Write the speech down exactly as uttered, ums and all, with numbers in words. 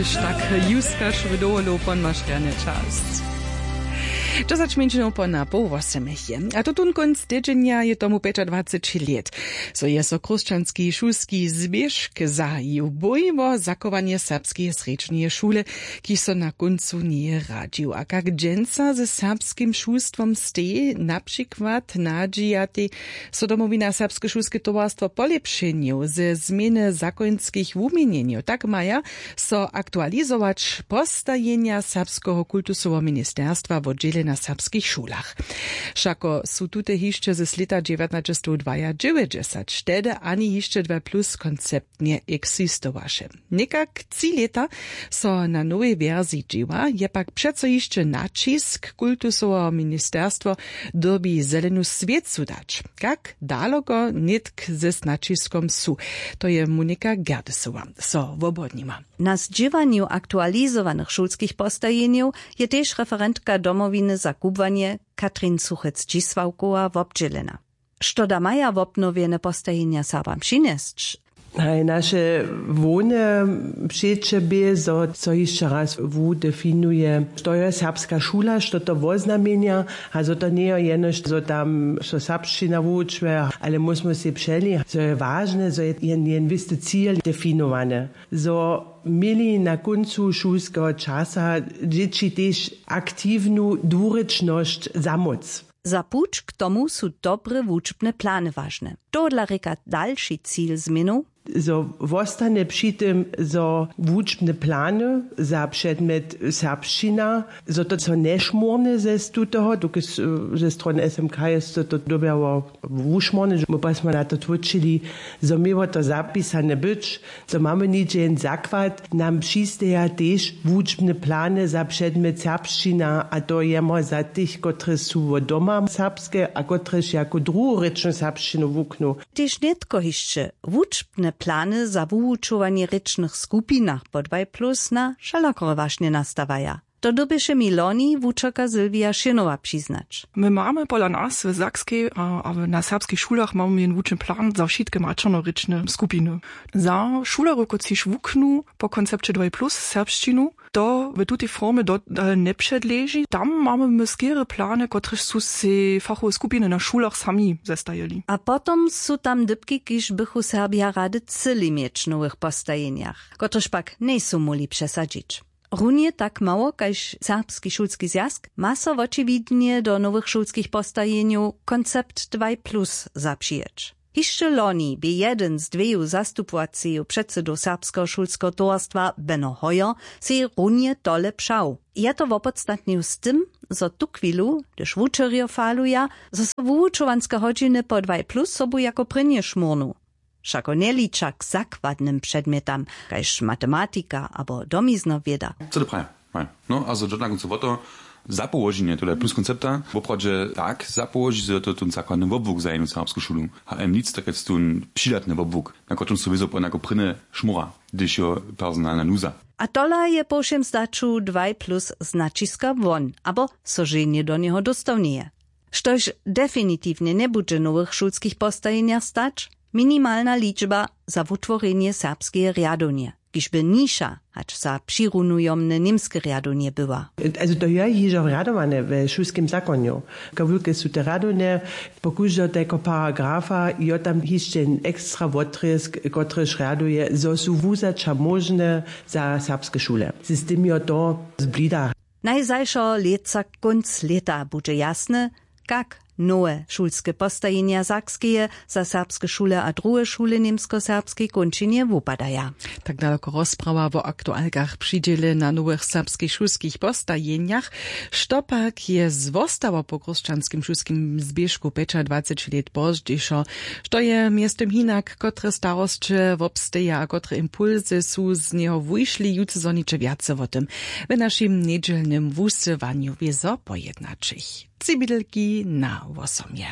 Štak juskaš w dowolu pon maš rjane časć. Dźesać mjeńšinow pona poł wosomich je a to tón kónc tydźenja je tomu pjećadwaceći lět, zo je so chrósćanski šulski zběžk zahaju bój wo zachowanje serbskeje srjedźneje šule, kiž so na kóncu njeje radźił a kak dźensa ze serbskim šulstwom stej na přikład nadźijatej, so domowina serbske šulske towarstwo polěpšenjow ze změny zakonskich wuměnjenjow tak maja so aktualizować postajenja serbskeho kultusoweho ministerstwa wo dźěle na serbskich šulach. Wšako su tute hišće z lěta dźewjatnaćestowdwajadźewjećdźesat dźesać tehdy ani hišće dwa plus konceptnje eksistowaše. Někak tři lěta so na nowej wersiji dźěła je pak přeco hišće naćisk kultusoweho ministerstwo dyrbi zelenu swěcu dać, kak daloko nětk ze znaćiskom su. To je monika gerdesowa so wobodnima. Na zdźěłanju aktualizowanych šulskich postajenjow je tež referentka domowiny za kubłanje katrin suchec dźisławkowa wobdźělena. Što da maja wobnowjene postajenja serbam přinjesć? Haj naše hłowne přeće bě zo so hišće raz wudefinuje što jo serbska šula što to woznamjenja, a zo to njejo jenož zo tam so serbšćina wučuje, ale móžmy sej přeli zo je wažne zo je jen jen wěsty cil definowany, zo měli na kóncu šulskeho časa dźěći tež aktiwnu dwurěčnosć za móc. Za puć k tomu su dobre wučbne plany wažne. Tohodla rěka dalši cil změnow. Zo wostanje při tym zo wučbne plany za předmjet serbšćina zo to so nješmórne ze tutoho dokelž ze strony smk je so to dyrbjało wušmórne my pa smy na to twóčili, zo měło to zapisane być, zo mamy něhdźe jen zakład nam přisteja tež wučbne plany za předmjet serbšćina a to jemo za tych kotrež su wot doma serbske a kotrež jako druhorěčnu serbšćinu wuknu. Tež nětko hišće wučbne plany za wuwučowanje w rěčnych skupinach po dwaj plus na wšelakore wašnje nastawaja. To dyrbješe mi loni wučerka sylwija šěnowa přiznać. My mamy pola nas w sakskej a na serbskich šulach mamy jen wučny plan za wšitke maćernorěčne skupiny, za šulerjow kotřiž wuknu po koncepće dwaj plus serbšćinu. To w tutej formje dodal njepředleži tam mamy my skerje plany kotrež su sej fachowe skupiny na šulach sami zestajili. A potom su tam dypki kiž bychu serbja rady cyli měć w nowych postajenjach kotrež pak njejsu móhli přesadźić. Runje tak mało kaž serbski šulski zwjazk ma so wočiwidnje do nowych šulskich postajenjow koncept dwaj plus zapřijeć. Hišće loni bě jedyn z dweju zastupowaceju předsedow serbskeho šulskeho towarstwa beno hoyer sej runje tole přał. Je to wopodstatnił z tym zo tuchwilu hdyž wučerjo faluja zo so wuwučowanske hodźiny po dwaj plus sobu jako prěnje šmórnu wšako njeliča k zakładnym předmjetam kaž matematika abo domizna wěda. Co to praja? No a zo dźo na kóncu wo to zapołoženje tola plus koncepta woprawdźe tak zapołožić zo je to tón zakładny wobłuk za jednu serbsku šulu. Hm nic to kec tón přidatny wobłuk na kotrymž su wězo pon jako prěnje šmóra hdyž jo personalna nuza. A tola je po wšěm zdaću dwaj plus znaćiska won abo so ženje do njeho dóstał njeje. Štož definitiwnje njebudźe w nowych šulskich postajenjach stać minimalna ličba za wutworjenje serbskeje rjadownje kiž by niša hač za přirunujomne němske rjadownje była. Azo to je hižo rjadowane we šulskim zakonju. Kawulke su te rjadownje po kóždeho tajkeho paragrafa jo tam hišće ekstra wotrězk kotryž rjaduje zo su wuzaća móžne za serbske šule z tym jo to zblida. Najzašeho lětsa kónc lěta budźe jasne kak nowe šulske postajenja sakskeje za serbske šule a druhe šule w němskoserbskej kónčinje wupadaja. Tak daloko rozprawa wo aktualkach při dźěle na nowych serbskich šulskich postajenjach. Što pak je zwostało po chrósćanskim šulskim zběžku pjećadwaceći lět pozdźišo? Što je mjeztym hinak kotre starosće wobsteja a kotre impulsy su z njeho wušli jutře zhoniće wjace wo tym w našim njedźelnym wusyłanju wězo pojednaćich. Tři bědelki na wosomje.